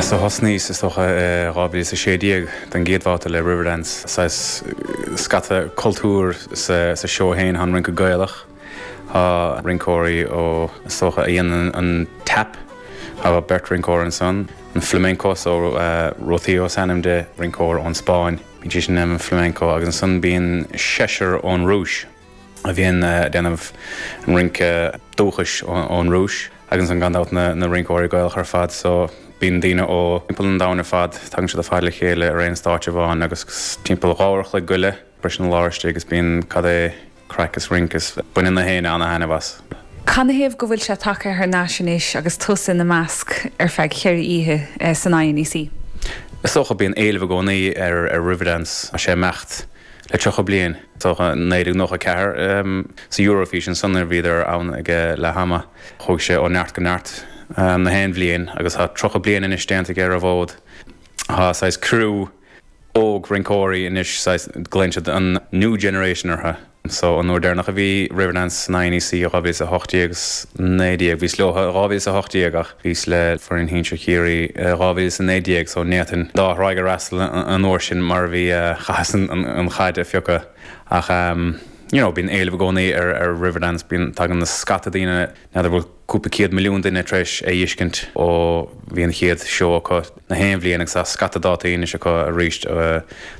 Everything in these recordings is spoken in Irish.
So thosnaíos is dócha i 2016 don gcéad bhabhta le Riverdance, saghas scata cultúr sa seó féin, tá an rince Gaelach, tá rinceoirí ó is dócha a dhéanann an tap, tá beirt rinceoir ansan, an flamenco so Rocío is ainm di, rinceoir ón Spáinn, bíonn sí sin ag déanamh an flamenco agus ansan bíonn seisear ón Rúis. a bhíonn ag déanamh an rince dúchais ón Rúis agus ansan gan dabht na rinceoirí Gaelacha ar fad so bíonn daoine ó timpeall an domhain ar fad, tagann siad ar fad le chéile ar aon stáitse amháin agus timpeall 2 uair a chloig go leith briseann an lár istigh agus bíonn cad é craic is rince is baineann na héinne ana-thaitneamh as. Canathaobh go bhfuil sé tagtha thar n-ais anois agus tusa ina measc ar feadh cheithre oíche san INEC? Is dócha bíonn éileamh i gcónaí ar Riverdance, tá sé ag imeacht le 30 bliain. Is dócha 1994 sa Eurofís ansan nuair a bhíodar ann ag leath ama. Chuaigh sé ó neart go neart na haon bhliain agus tá 30 bliain anois déanta aige ar an bhfód. Tá saghas criú óg rinceoirí anois, saghas, glaonn siad an new generation orthu. So an uair deireanach a bhí Riverdance san INEC i 2018 is 19, bhíos leo i 2018 ach bhíos le foireann shinsir Chiarraí i 2019 so ní fhéadfainn an dá thráigh a fhreastal an uair sin mar a bhí chaitheas an chaid a phiocadh ach you know bíonn éileamh i gcónaí ar ar Riverdance, bíonn, tagann na scata daoine, n'fheadar bhfuil cúpla céad milliún duine tar éis é fheiscint ó bhí an chéad seó acu na haon bhliain agus tá scata dátaí anois acu arís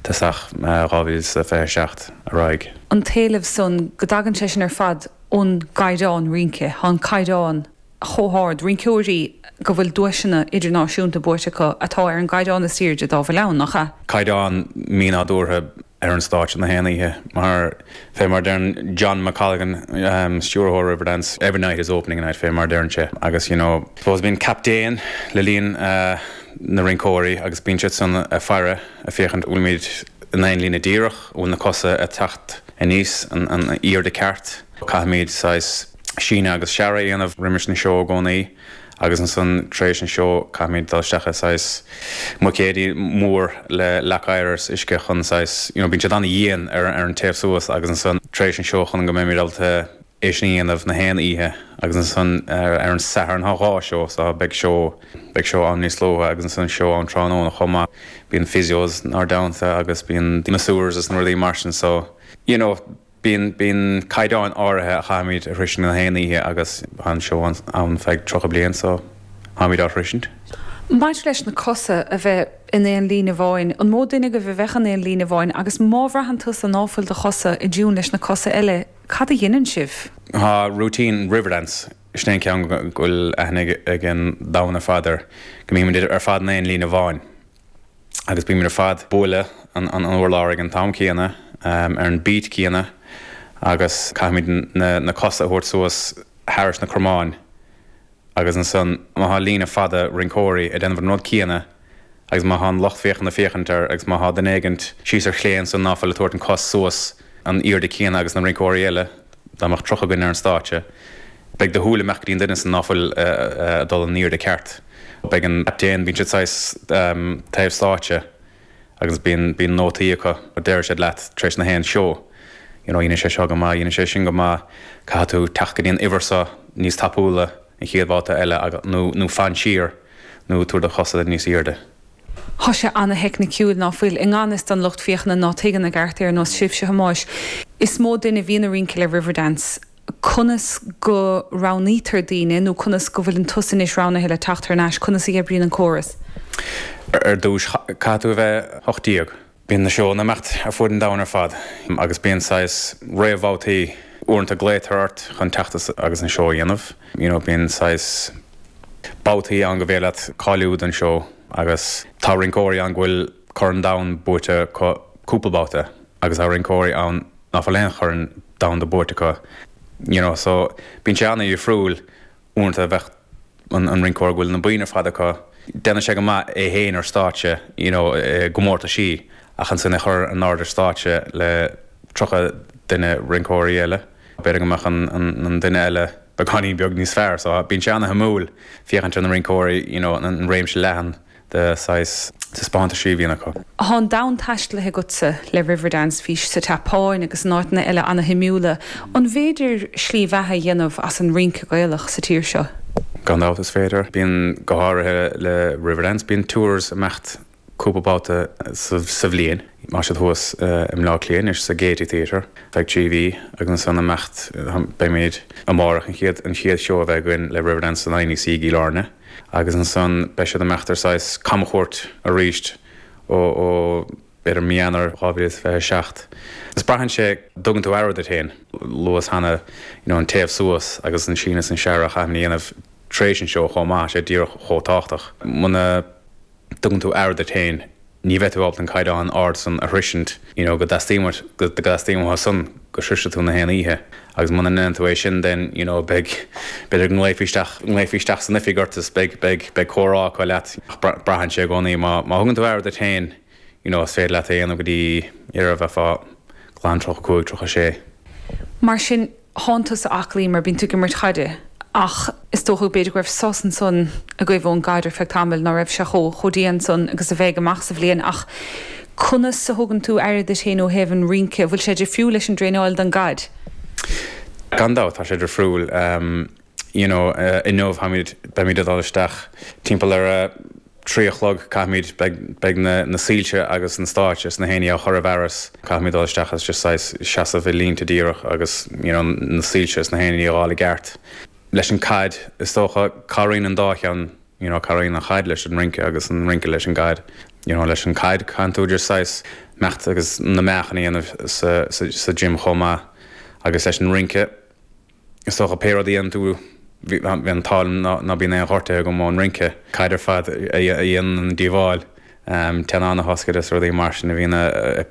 tosach 2027 ar aghaidh. An t-éileamh san, go dtagann sé sin ar fad ón gcaighdeán rince, tá an caighdeán chomh hard, rinceoirí go bhfuil duaiseanna idirnáisiúnta buaite acu atá ar an gcaighdeán is airde dá bhfuil ann, nach ea? Caighdeán mínádúrtha ar an stáitse na haon oíche mar, fé mar deireann John McColgan, stiúrthóir Riverdance, every night is opening night, fé mar deireann sé. Agus you know, suppose bíonn captaen le líon na rinceoirí agus bíonn siad san ag faire, ag féachaint bhfuilimid in aon líne díreach, bhfuil na cosa ag teacht aníos an airde ceart. Caithfimid saghas síneadh agus searradh a dhéanamh roimis an seó i gcónaí agus ansan tar éis an seó caithfimid dul isteach i saghas mbuicéidí mór le leac oighir is uisce chun saghas you know bíonn siad an-dhian ar an téamh suas agus ansan tar éis an seó chun go mbeimid ábalta é sin a dhéanamh na haon oíche agus ansan ar an Satharn tá dhá seó so beidh seó beidh seó ann níos luaithe agus ansan seó ann tráthnóna chomh maith. Bíonn physios inár dteannta agus bíonn masseurs is na rudaí mar sin so you know Bíonn, bíonn caighdeáin áirithe a chaithfimid a shroisint na haon oíche agus tá an seó ann feadh 30 bliain so táimid á shroisint. Maidir leis na cosa a bheith in aon líne amháin, an mó duine agaibh a bheadh in aon líne amháin agus má bhraitheann tusa ná fuil do chosa i dtiún leis na cosa eile, cad a dheineann sibh? Tá routine Riverdance, sin é an ceann go bhfuil aithne ag an domhan ar fad air, go mbímid ar fad in aon líne amháin. agus bímid ar fad ag bualadh an urlár ag an t-am céanna, ar an beat céanna agus caithfimid na cosa a thabhairt suas thairis na cromáin agus ansan má thá líne fada rinceoirí ag déanamh an rud céanna agus má thá an lucht féachana féachaint air agus má thá duine éigint síos ar chlé ansan ná fuil ag tabhairt an cos suas an airde céanna agus na rinceoirí eile, dá mbeadh 30 againn ar an stáitse. Beidh do shúil ag imeacht go dtí an duine san ná fuil ag dul an airde ceart. Beidh an captaen, bíonn siad saghas taobh stáitse agus bíonn, bíonn nótaí acu, deir siad leat tar éis na haon seó, you know, dhein sé seo go maith, dhein sé sin go maith, caithfidh tú teacht go dtí an uimhir seo níos tapúla an chéad bhabhta eile nó, nó fan siar nó tabhair do chosa níos airde. Thá sé ana-theicniciúil, ná fuil? I ngan fhios don lucht féachana ná tuigeann i gceart é ar nós sibhse, a Thomáis, is mó duine a bhíonn ag rince le Riverdance. Conas go roghnaítear daoine nó conas go bhfuileann tusa anois roghnaithe le teacht thar n-ais? Conas a oibríonn an córas? Ar dtús, caithfidh tú a bheith 18. Bíonn na seónna ag imeacht ar fuaid an domhain ar fad agus bíonn saghas réamhbhabhtaí. Uaireanta glaotar ort chun teacht agus an seó a dhéanamh. You know, bíonn saghas babhtaí ann go bhféidir leat cáiliú don seó agus tá rinceoirí ann go bhfuil Corn Domhain buaite acu cúpla babhta agus tá rinceoirí ann ná fuil aon chorn domhanda buaite acu you know so bíonn sé ana-dhifriúil uaireanta bheadh an rinceoir go bhfuil na boinn ar fad acu déanann sé go maith é féin ar stáitse you know i gcomórtaisí ach ansin é chur in airde ar stáitse le 30 duine rinceoirí eile b'fhéidir go mbeadh an an duine eile beagáinín beag níos fearr so bíonn sé ana-shuimiúil féachaint ar na rinceoirí you know an réimse leathan de saghas taispeántaisí a bhíonn acu. Thá an domhan taistealaithe agatsa le Riverdance, bhís sa tSeapáin agus in áiteanna eile ana-shuimiúla. An bhféidir slí bheatha a dhéanamh as an rince Gaelach sa tír seo? Gan dabht is féidir. Bíonn, go háirithe le Riverdance, bíonn tours ag imeacht cúpla babhta sa bhliain. Tá siad thuas i mBleá Cliath anois sa Gaiety Theatre feadh 3 mhí agus ansan imeacht, beimid amárach an chéad an chéad seó a bheidh againn le Riverdance san INEC i gCill Airne agus ansan beidh siad ag imeacht ar saghas camchuairt arís ó ó b'fhéidir mí Eanáir 2027. Is braitheann sé, dtugann tú aire duit féin, luas cheana you know an téamh suas agus an síneadh is an searradh a chaithfimid a dhéanamh tar éis an seó chomh maith, sé díreach chomh tábhachtach. Muna. dtugann tú aire duit féin, ní bheidh tú ábalta an caighdeán ard san a shroisint, you know, go dteastaíonn uait, go dteastaíonn uathu san go sroisfidh tú na haon oíche. Agus muna ndéanann tú é sin then, you know, beidh, b'fhéidir go nglaofaí isteach, nglaofaí isteach san oifig ort is beidh, beidh, beidh comhrá acu leat. Ach braitheann sé i gcónaí, má, má thugann tú aire duit féin, you know, is féidir leat é a dhéanamh go dtí, ar a bheifeá glan 35, 36. Mar sin, Thánn tusa aclaí mar bíonn tú ag imirt chaide ach is dócha b'fhéidir go raibh sos ansan agaibh ón gcaid ar feadh tamaill, ná raibh sé chomh chomh dian san agus a bheidh amach sa bhliain ach conas a thugann tú aire duit féin ó thaobh an rince, bhfuil sé difriúil leis an dtraenáil don gcaid? Gan dabht tá sé difriúil. You know, inniu táimid, beimid ag dul isteach timpeall ar a 3 a chlog, caithfimid, beidh, beidh na, na soilse agus an stáitse is na haon ní á chur i bhfearas, caithfimid dul isteach agus just saghas seasamh i línte díreach agus you know na soilse is na haon ní a fháil i gceart. Leis an caid, is dócha, cabhraíonn an dá cheann, you know cabhraíonn an chaid leis an rince agus an rince leis an gcaid. You know leis an caid caitheann tú just saghas imeacht agus na meáchain a dhéanamh sa, sa, sa gym chomh maith agus leis an rince, Is dócha pé rud a dhéanann tú, bhí an t-ádh liom ná bíonn aon ghortuithe agam ón rince. Caid ar fad a dhéanann an díobháil, teannán a thoscairt is rudaí mar sin a bhíonn a.